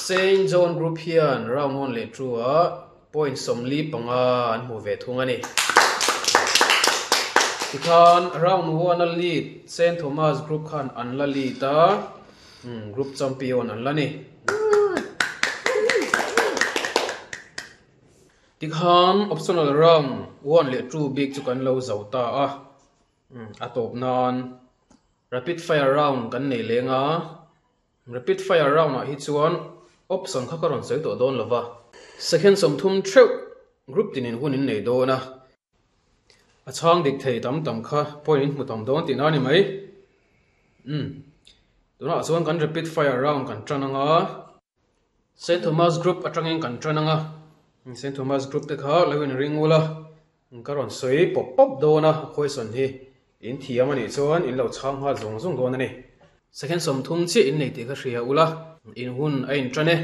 Saint John Group hian round 1 leh 2 ah point 45 an hmu ve thung a ni. Tikhan round 1 a lead Saint Thomas Group khan an la lead a, group champion an la ni. Tikhan optional round 1 leh 2 bik chu kan lo zo ta a, a tawp nan rapid fire round kan nei leng a. Rapid fire round ah hi chuan option kha ka rawn sawi tawh dawn lova. Second 30 theuh group tinin hun in nei dawn a. A chhang dik thei tam tam kha point in hmu tam dawn tihna a ni mai. Umm. Tunah chuan kan rapid fire round kan tan anga. Saint Thomas group atangin kan tan anga. Saint Thomas group te kha lo in ring ula. Ka rawn sawi pawp pawp dawn a, question hi in thiam a nih chuan in lo chhang nghal zung zung dawn a ni. Second 30 chiah in nei tih ka hria ula, in hun a in tan e.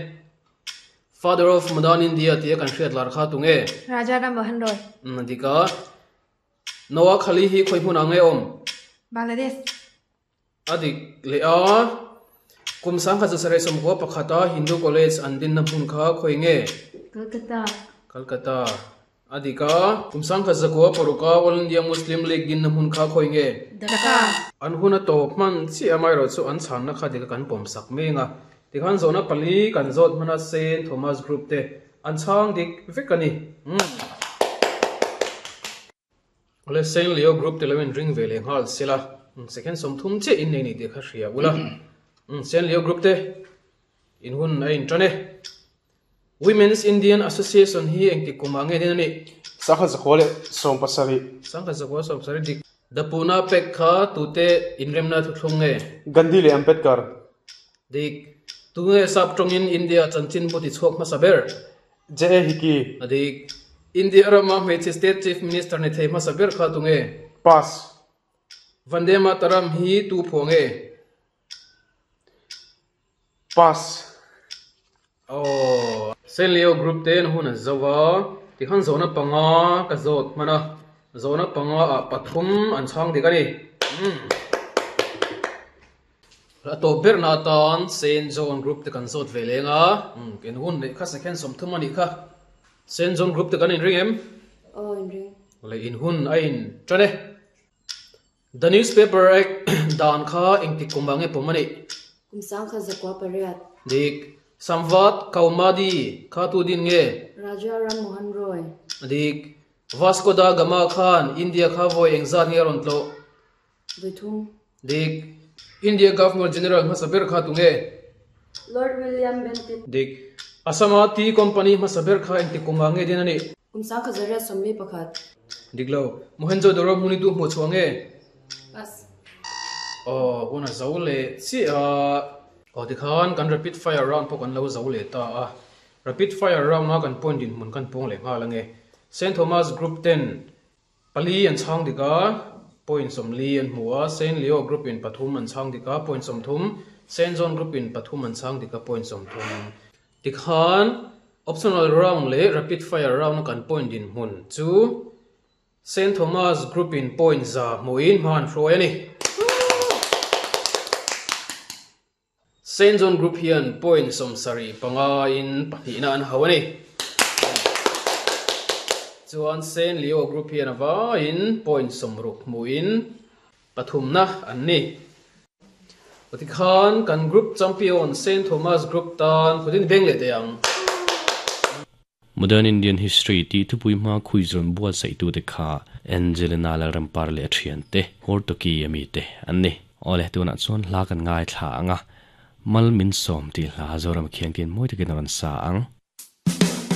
Father of Modern India tia kan hriat lar kha tunge? Raja Ram Mohan Roy. Umm a dik a. Noakhali hi khawi hmunah nge awm? Bangladesh. A dik leh a, kum 1991 a Hindu College an dinna hmun kha khawi nge? Calcutta. Calcutta. A dik a, kum 1906 a All India Muslim League dinna hmun kha khawi nge? Dhaka. An hun a tawp hman chiah amaherawh chu an chhanna kha dik a kan pawm sak meng a. Tikhan zawhna pali kan zawt hman a Saint Thomas Group te an chhang dik vek a ni. Umm. Awle Saint Leo group te lo in ring ve leh nghal sela second 30 chiah in nei ni tih kha hria ula Saint Leo group te in hun a in tan e. Women's Indian Association hi engtik kumah nge din a nih? 1917. 1917 dik. The Pune Pact kha tute inremna thuthlung nge? Gandhi leh Ambedkar. Dik. Tunge sap tawngin India chanchinbu tichhuak hmasa ber? J.A. Hickey. A dik. India rama hmeichhe State Chief Minister ni thei hmasa ber kha tunge? Pass. Vande Mataram hi tu phuah nge? Pass. Aw. Saint Leo Group te an hun an zo a, tikhan zawhna panga ka zawt hman a, zawhna panga ah pathum an chhang dik a ni. Umm. A tawp berna atan Saint John Group te kan zawt ve leng a, in hun neih kha second 30 a nih kha. Saint John Group te kan inring em? Aw inring. Le in hun a in tan e. The Newspaper Act dan kha engtik kum ah nge pawm a nih? Kum 1908. Dik. Samvat Kaumadi kha tu din nge? Raja Ram Mohan Roy. Dik. Vasco da Gama khan India kha vawi engzat nge a rawn tlawh? Vawi thum. Dik. India Governor General hmasa ber kha tunge? Lord William Bentinck. Dik. Assam-a Tea Company hmasa ber kha engtik kumah nge din a nih? Kum 1941. Dik lo. Mohenjo-daro hmun i tu hmuh chhuah nge? Pass. Aw, hun a zo leh chiah a. Aw, tikhan kan rapid fire round pawh kan lo zo leh ta a. Rapid fire round-a kan point dinhmun kan pawng leh nghal ange. Saint Thomas Group ten Pali an chhang dik a, point 40 an hmu a, Saint Leo Group in pathum an chhang dik a, point 30, Saint John Group in pathum an chhang dik a, point 30. Tikhan optional round leh rapid fire round a kan point dinhmun chu Saint Thomas Group in point 100 hmuhin hma an hruai a ni. Saint John Group hian point 75 in pahnihna an hau a ni. Chuan Saint Leo Group hian a vaiin point 60 hmuhin pathumna an ni. Tikhan kan group champion Saint Thomas Group tan khutin beng leh teh ang. Modern Indian History tih thupui hma khuizawn buatsaihtute kha Angelina Lalrampar leh a thiante, Hortoki a mite an ni. Awle, tunah chuan hla kan ngaithla ang a, Mal min sawm tih hla Zoram khian kin mawi takin a rawn sa ang.